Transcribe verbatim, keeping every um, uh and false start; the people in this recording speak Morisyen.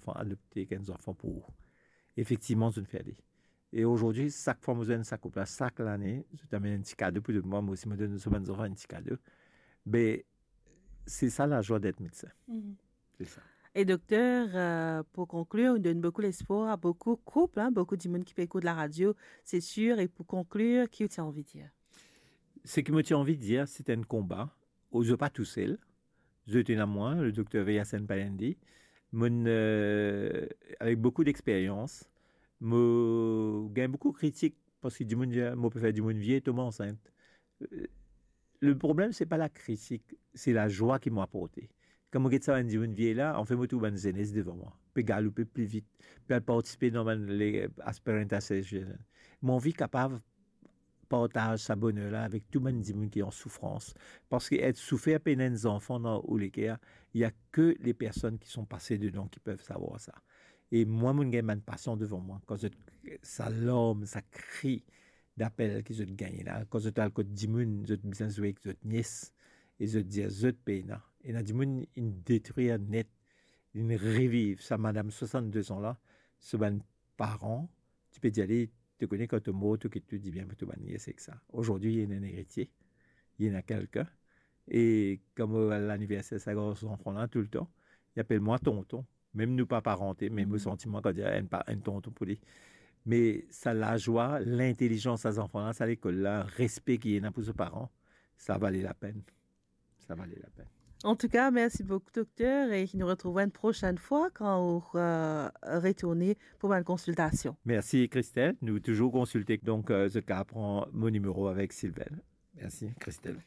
zanfan, adopte enn zanfan pou ou. Efektivman, zot fer li. E azordi, sak fwa mo zwenn sa koup la, sak lane, zot amenn enn ti kado pou mwa, mo osi mo donn so bann zanfan enn ti kado. Be, se sa lazwa d'être médecin. Mhm. Se sa. E dokter, euh, pou konklir, ou donn boukou lespwar a boukou koup, hein, boukou dimoun ki pe ekout laradio, se sir. E pou konklir, ki ou ti anvi dir? Seki mo ti anvi dir, se enn konba, ou zot pa tousel, zot ena mwa, le dokter Veyasen Payandi, monn, euh, avek boukou dexperyans, mo gagn boukou kritik, parski dimoun dir, mo pe fer dimoun vie, tom ansint. Euh, le problem, se pa lakritik, se lazwa ki mo aporte. Kan mo get sa bann dimoun vie la, anfin mo trouv bann zenes devan mwa, pe galoupe pli vit, pe al partisipe dan bann le, aspirant association. Mo anvi kapav partaz sa boner la avek tou bann dimoun ki an soufrans. Parski et soufer pena enn zanfan dan ou leker, il y a que les personnes qui sont passées dedans qui peuvent savoir ça. E mwa, mo gagn bann pasan devan mwa, kan zot, sa larm, sa kri dapel ki zot gagne la, kan zot al kot dimoun, zot bizin zwe ek zot nies, e zot dir zot pena. Ena dimoun inn detrir net, inn reviv. Sa madam swasannde-de-an la, so bann paran, ti pe dir li, to kone kan to mor, to kit tou dibien pou to bann nies ek sa. Azordi, li ena enn eritie, li ena kelkin. E kan mo al laniverser sa gran zanfan la, toultan, li apel mwa tonton. Mem nou pa parante, me mo santi mwa kan dir enn pa-, enn tonton pou li. Me sa lazwa, lintelizans sa zanfan la, sa lekol la, respe ki ena pou so paran, sa vale lapenn. Sa vale lapenn. Antouka, mersi boukou, dokter, e nou retrouv enn prosenn fwa kan ou, euh, retourne pou bann konsiltasion. Mersi, Christelle. Nou touzour konsilte, donk, euh, zot kapav pran mo nimero avek Sylvain. Mersi, Christelle.